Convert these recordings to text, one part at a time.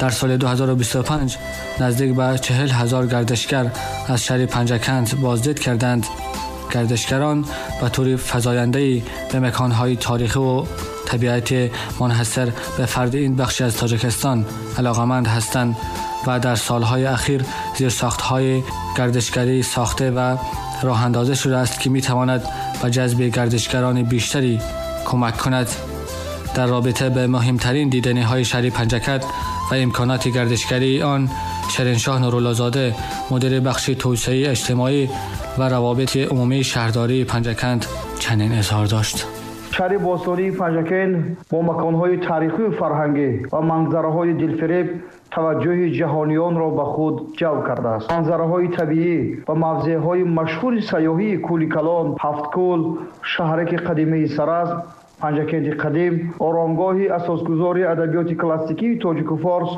در سال 2025 نزدیک به 40,000 گردشگر از شهر پنجکنت بازدید کردند. گردشگران به طور فزاینده‌ای به مکان‌های تاریخی و طبیعت منحصر به فرد این بخش از تاجیکستان علاقمند هستند و در سالهای اخیر زیرساخت‌های گردشگری ساخته و راه اندازی شده است که می‌تواند به جذب گردشگران بیشتری کمک کند. در رابطه به مهمترین دیدنی‌های شهر پنجکنت و امکانات گردشگری آن، شیرینشاه نورالله‌زاده، مدیر بخش توسعه اجتماعی و روابط عمومی شهرداری پنجکنت، چنین اظهار داشت: شهر باستانی پنجکنت با مکان‌های تاریخی و فرهنگی و منظره‌های دلفریب توجه جهانیان را به خود جلب کرده است. منظره‌های طبیعی و موضع‌های مشهور سیاحی کولی کلان، هفت کول، شهرک قدیمی سرزم، پنجکنت قدیم، آرامگاه اساسگذار ادبیات کلاسیکی تاجیک و فارس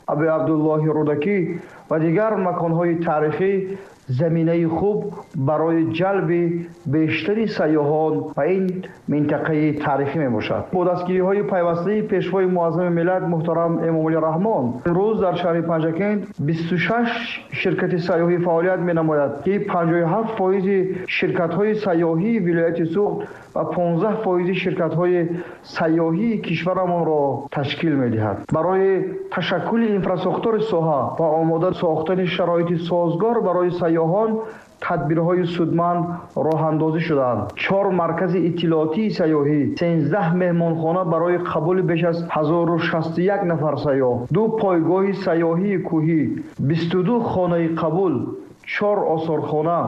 ابی عبدالله رودکی و دیگر مکان‌های تاریخی زمینه خوب برای جلب بیشتر سیاحان به این منطقه تاریخی می باشد. با دستگیری‌های پیوسته پیشوای معظم ملت محترم امامعلی رحمان، امروز در شهر پنجکنت 26 شرکت سیاحی فعالیت می نماید که 57% شرکت‌های سیاحی ولایت سغد و 15% شرکت‌های سیاحی کشورمان را تشکیل می دهد. برای تشکل اینفراساختور ساحه و آماده ساختن شرایط سازگار برای سیاحان تدبیرهای سودمند راه اندازی شدند. 4 مرکز اطلاعاتی سیاحی، 13 مهمانخانه برای قبول بیش از 1061 نفر سیاح، 2 پایگاه سیاحی کوهی، 22 خانه قبول، 4 آثارخانه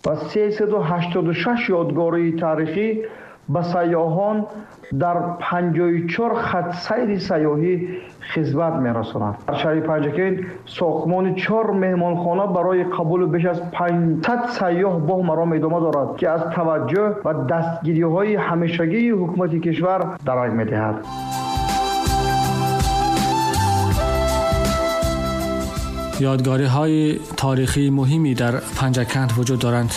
و 386 یادگاری تاریخی به سیاحان در 54 خط سیر سیاحی خدمت می‌رساند. در شهر پنجکنت ساختمان 4 مهمانخانه برای قبول بیش از 500 سیاح با مرام ادامه دارد که از توجه و دستگیری‌های همیشگی حکومت کشور درک می‌دهد. یادگاری‌های تاریخی مهمی در پنجکنت وجود دارند.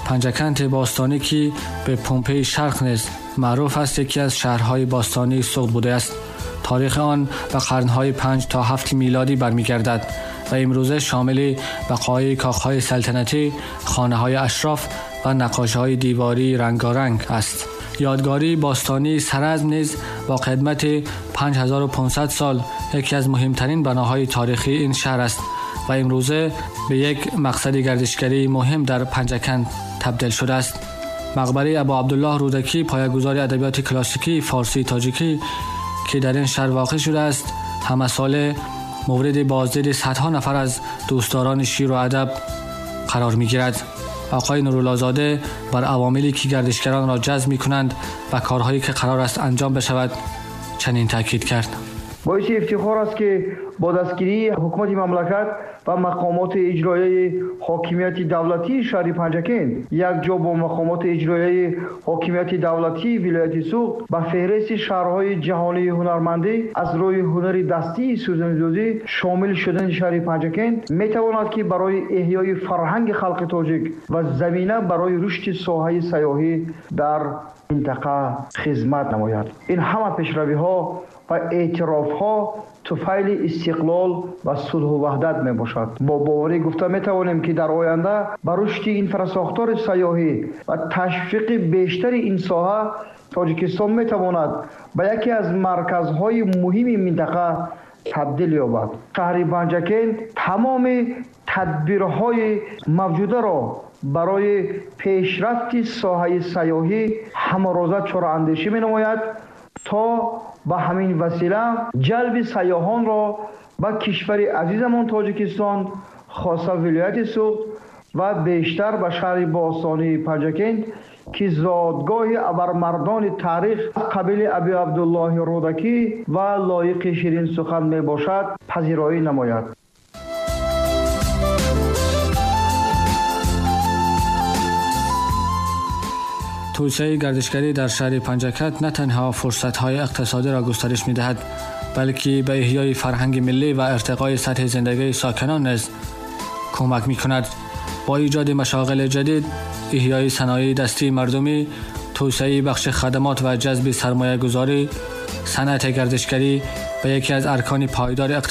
پنجکنت باستانی که به پومپئی شرق نیز معروف است، یکی از شهرهای باستانی سغد بوده است. تاریخ آن به قرن‌های 5 تا 7 میلادی برمی‌گردد و امروزه شامل بقایای کاخ‌های سلطنتی، خانه‌های اشراف و نقاشی‌های دیواری رنگارنگ است. یادگاری باستانی سرزم نیز با قدمت 5500 سال یکی از مهمترین بناهای تاریخی این شهر است و امروزه به یک مقصد گردشگری مهم در پنجکنت تبدیل شده است. مقبره ابو عبدالله رودکی، پایه‌گذار ادبیات کلاسیکی فارسی تاجیکی که در این شهر واقع شده است، همه ساله مورد بازدید صدها نفر از دوستداران شعر و ادب قرار می‌گیرد. آقای نورالله‌زاده بر عواملی که گردشگران را جذب می‌کنند و کارهایی که قرار است انجام بشود چنین تاکید کرد: باعث افتخار است که با دستگیری حکومت مملکت و مقامات اجرایی حاکمیت دولتی شهر پنجکنت یک جا با مقامات اجرایی حاکمیت دولتی ولایت سغد به فهرست شهرهای جهانی هنرمندی از روی هنر دستی سوزن‌دوزی شامل شدن شهر پنجکنت میتواند که برای احیای فرهنگ خلق تاجیک و زمینه برای رشد ساحه سیاحی در منطقه خدمت نماید. این همه پیشروی‌ها و اعتراف‌ها توفیل استقلال و صلح و وحدت می باشد. با باوری گفته می توانیم که در آینده بر رشد اینفراساختور سیاحی و تشویق بیشتر این ساحه تاجیکستان می تواند به یکی از مرکزهای مهم منطقه تبدیل یابد. شهر پنجکنت تمام تدبیرهای موجوده را برای پیشرفت ساحه سیاحی همه‌روزه چاره‌اندیشی می نماید تا به همین وسیله جلب سیاحان را به کشور عزیزمان تاجیکستان، خاصه ولایت سغد و بیشتر به شهر باستانی پنجکنت که زادگاه ابرمردان تاریخ قبیل ابی عبدالله رودکی و لایق شیرین سخن می باشد پذیرایی نماید. توسعه گردشگری در شهر پنجکنت نه تنها فرصت‌های اقتصادی را گسترش می‌دهد، بلکه به احیای فرهنگ ملی و ارتقای سطح زندگی ساکنان نیز کمک می‌کند. با ایجاد مشاغل جدید، احیای صنایع دستی مردمی، توسعه بخش خدمات و جذب سرمایه‌گذاری، صنعت گردشگری به یکی از ارکان پایدار اقتصادی